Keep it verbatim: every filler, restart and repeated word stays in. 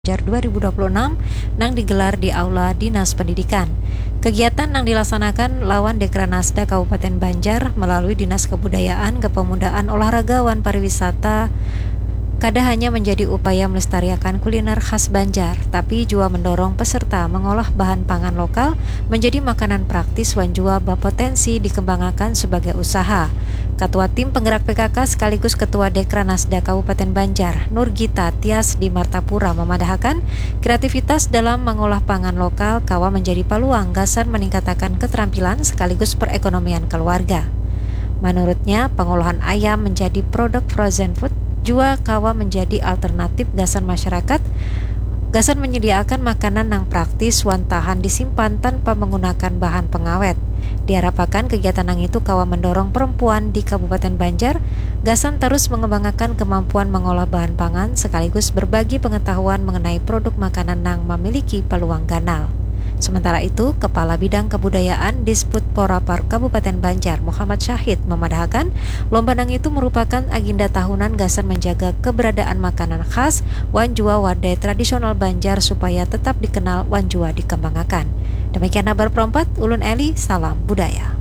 Banjar dua ribu dua puluh enam nang digelar di Aula Dinas Pendidikan. Kegiatan nang dilaksanakan lawan Dekranasda Kabupaten Banjar melalui Dinas Kebudayaan, Kepemudaan, Olahraga, wan Pariwisata kada hanya menjadi upaya melestariakan kuliner khas Banjar, tapi jua mendorong peserta mengolah bahan pangan lokal menjadi makanan praktis wan jua bapotensi dikembangakan sebagai usaha. Katua Tim Penggerak P K K sekaligus Ketua Dekranasda Kabupaten Banjar, Nurgita Tias di Martapura, memadahakan kreativitas dalam mengolah pangan lokal kawa menjadi paluang gasan meningkatakan keterampilan sekaligus perekonomian keluarga. Menurutnya, pengolahan ayam menjadi produk frozen food jua kawa menjadi alternatif gasan masyarakat gasan menyediakan makanan nang praktis wan tahan disimpan tanpa menggunakan bahan pengawet. Diharapkan kegiatan nang itu kawa mendorong perempuan di Kabupaten Banjar gasan terus mengembangakan kemampuan mengolah bahan pangan sekaligus berbagi pengetahuan mengenai produk makanan nang memiliki peluang ganal. Sementara itu, Kepala Bidang Kebudayaan Disputpora Par Kabupaten Banjar, Muhammad Syahid, memadahakan lomba nang itu merupakan agenda tahunan gasan menjaga keberadaan makanan khas wan jua wadai tradisional Banjar supaya tetap dikenal wan jua dikembangakan. Demikian habar perompat, ulun Eli, salam budaya.